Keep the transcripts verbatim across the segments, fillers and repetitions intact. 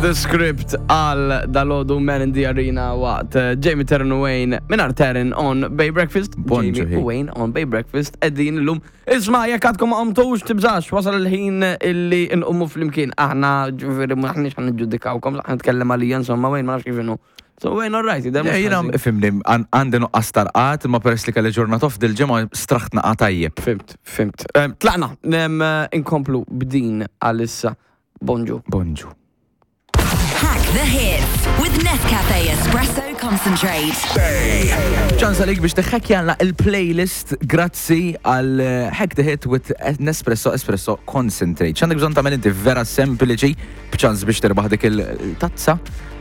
The script għal dalgħodu Man in the Arena waqt eh, Jamie Taryn u Wayne mingħajr Taryn on Bay Breakfast. Bonġu, Jamie hi. u Wayne on Bay Breakfast. Qegħdin illum. Isma, jekk għadkom ma qomtux, tibżax, wasal il-ħin illi nqumu flimkien. Aħna ġifieri m'aħniex ħa niġġudikawkom, ħa nitkellem għalija, insomma, Wayne ma nafx kif inhu. So Wayne, all right, Yeah, Jiena ifhimni, għandi nuqqas ta' rqad, ma peress li kelli ġurnata off dil-ġimgħa straħt naqa tajjeb. Fhimt, fhimt. Em, Tlaqna, nem eh, inkomplu b'din għalissa. Bonġu. Bonġu. Hack the hits with Nescafe Espresso Concentrate. Ċans għalik biex tiħħekjalna il-playlist grazzi għal eh, Hack the Hit with Nespresso Espresso Concentrate. ċ'għandek bżonn tagħmel inti? Vera sempliċi, b'ċans biex tirbaħ dik il-tazza,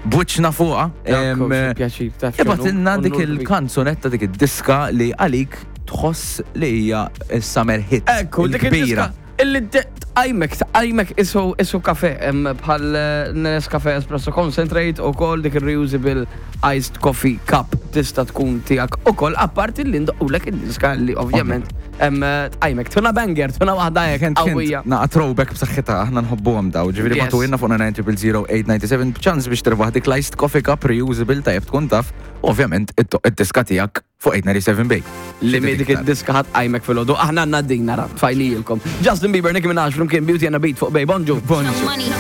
b'wiċċna fuqha. Em, Pjaċir, taf x'inhu? Ibgħatilna dik Onur kbir. il-kanzunetta, dik id-diska li għalik tħoss li hija summer hit. Ekku, dik il-kbira. il-diska illi tqajmek, tqajmek isu isu kafe, em, bħal eh, Nescafe Espresso Concentrate u kol dik il-reusable iced coffee cup tista' tkun tiegħek u kol, apparti li ndoqqulek id-diska li ovvjament em, eh, tqajmek. Tuna banger, tuna waħda hekk Kent, qawwija. kent, naqa throwback b'saħħitha, aħna nħobbuhom daw. Ġifieri Yes. ibagħtulna fuq nine zero zero eight nine seven b'ċans biex tirbaħ dik l-iced coffee cup reusable, tajjeb tkun taf, ovvjament id-diska tiegħek fuq eight nine seven Bay. Li mi dik id-diska ħa tqajmek filgħodu. Aħna għandna din nara, tfajnijilkom. Justin Bieber, Nicki Minaj, flimkien Beauty and a Beat fuq Bay. Bonġu. Bonġu. Money.